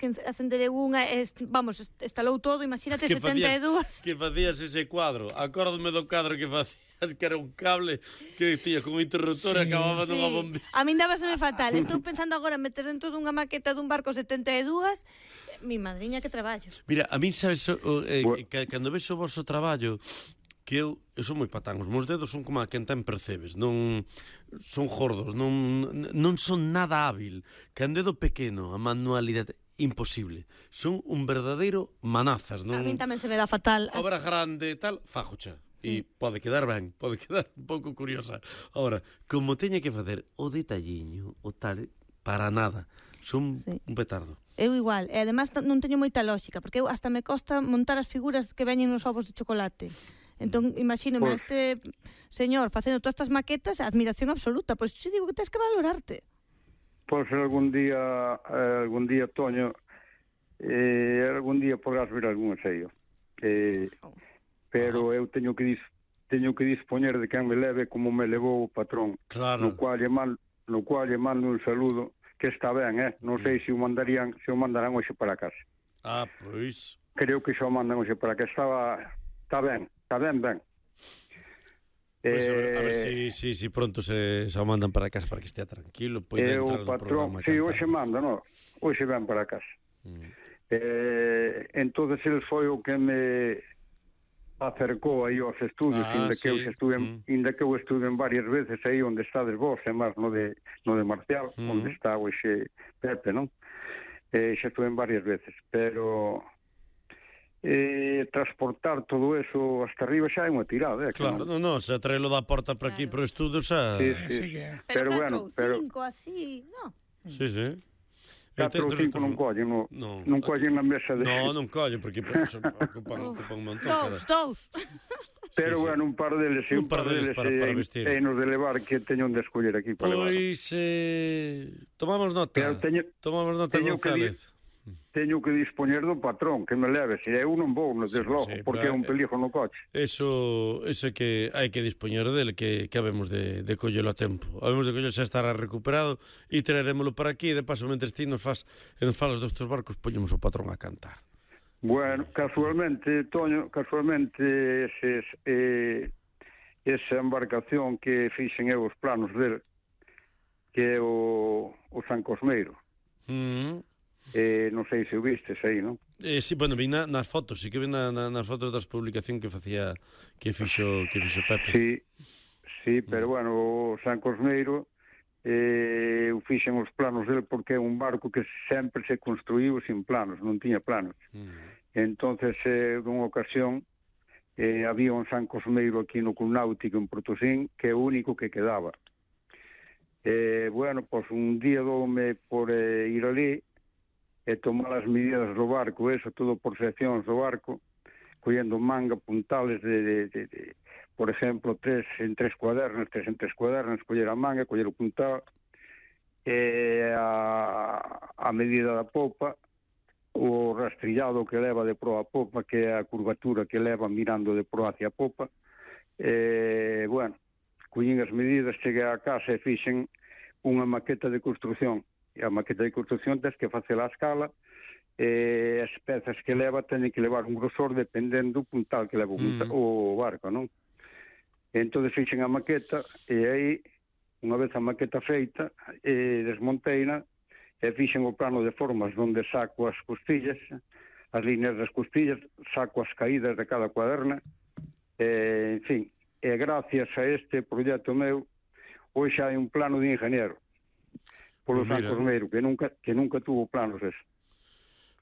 que acendereu unha e, vamos, estalou todo, imagínate 72. Que facías ese cuadro? Acórdome do cuadro que facías, que era un cable que tía con un interruptor e acababa nunha bombilla. A min dábaseme fatal. Estou pensando agora meter dentro dunha maqueta dun barco 72, mi madriña que traballo. Mira, a min sabes, cando ves o vosso traballo, que eu son moi patán, os meus dedos son como a quen ten percebes, non son gordos, non son nada hábil. Can dedo pequeno, a manualidade imposible. Son un verdadeiro manazas, non? A min tamén se me dá fatal. Obra grande e tal, fajocha. E pode quedar ben, pode quedar un pouco curiosa. Ahora, como teña que facer o detalliño, o tal, para nada. Son un petardo. Eu igual, e además non teño moita lógica, porque eu hasta me costa montar as figuras que veñen nos ovos de chocolate. Entón, imagínome este señor facendo todas estas maquetas, admiración absoluta. Pois si digo que tens que valorarte. Pois algún día, Toño, algún día podrás ver algún ensaio. Pero eu teño que dispoñer de quen me leve como me levou o patrón. Claro. No cual lle mando un saludo, que está ben, non sei se o mandarán hoxe para casa. Pois. Creo que xa o mandan hoxe para casa. Está ben. Pois a ver si pronto se o mandan para casa para que estea tranquilo, poida entrar no programa. Si, hoxe manda, hoxe ven para casa. Entonces el foi o que me acercou aí aos estudios, inda que eu estuve varias veces aí onde estades vos, e máis no de Marcial, onde está hoxe Pepe, non? Xa estuve varias veces, pero transportar todo eso hasta arriba xa é unha tirada, claro, non, se traelo da porta para aquí para o estudo xa... Sí. Pero bueno, 4 ou 5 así, non? Sí. 4 ou 5 non collen, non collen na mesa de... Non collen, porque ocupan un montón. Dous. Pero bueno, un par deles para vestir. E nos de levar que teño onde escoller aquí para levar. Pois, tomamos nota. Tomamos nota, González. Teño que dispoñer do patrón que me leve, se eu non vou, desde logo, porque é un peligro no coche. Eso é que hai que dispoñer dele, que habemos de collelo a tempo. Habemos de collelo, xa estará recuperado, e traerémolo para aquí, e de paso, mentres ti nos falas dos teus barcos, poñemos o patrón a cantar. Bueno, casualmente, Toño, esa embarcación que fixen eu os planos dele, que é o San Cosmeiro. Non sei se o vistes aí, non? Sí, bueno, vi nas fotos, sí que vi nas fotos das publicacións que fixo Pepe. Sí, pero bueno, o San Cosmeiro o fixen os planos dele porque é un barco que sempre se construíu sin planos, non tiña planos. Entonces, dunha ocasión, había un San Cosmeiro aquí no Club Náutico en Portosín, que é o único que quedaba. Bueno, pois un día doume por ir ali e tomar as medidas do barco, eso todo por seccións do barco, collendo manga, puntales por exemplo, 3 en 3 cuadernos, coller a manga, coller o puntal, a medida da popa, o rastrillado que leva de proa a popa, que é a curvatura que leva mirando de proa hacia a popa. Bueno, collín as medidas, cheguei a casa e fixen unha maqueta de construcción. E a maqueta de construcción tens que facela a escala, as pezas que leva teñen que levar un grosor dependendo do puntal que leva o barco, non? Entón fixen a maqueta e aí, unha vez a maqueta feita, desmonteina e fixen o plano de formas onde saco as costillas, as líneas das costillas, saco as caídas de cada cuaderna, en fin, e gracias a este proxecto meu, hoxe hai un plano de ingeniero polo San Cosmeiro, que nunca tuvo planos eso.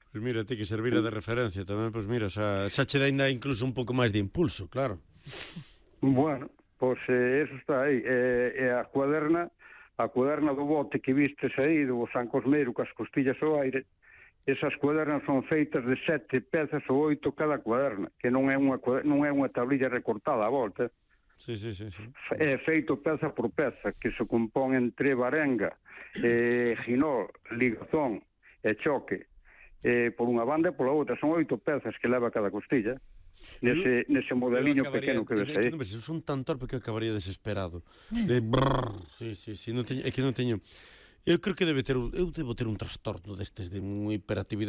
Pois mira, ti que servira de referencia tamén, pois mira, xa che dá ainda incluso un pouco máis de impulso, claro. Bueno, pois eso está aí. A cuaderna do bote que vistes aí, do San Cosmeiro, cas costillas ao aire, esas cuadernas son feitas de 7 pezas ou 8 cada cuaderna, que non é unha tablilla recortada a volta. Sí. É feito peza por peza, que se compón entre varenga, ginol, ligazón e choque, por unha banda e pola outra. Son 8 pezas que leva cada costilla, nese modeliño pequeno que ves aí. Son tan torpe que acabaría desesperado. Sí, é que non teño... Eu creo que eu debo ter un trastorno destes de unha hiperactividade.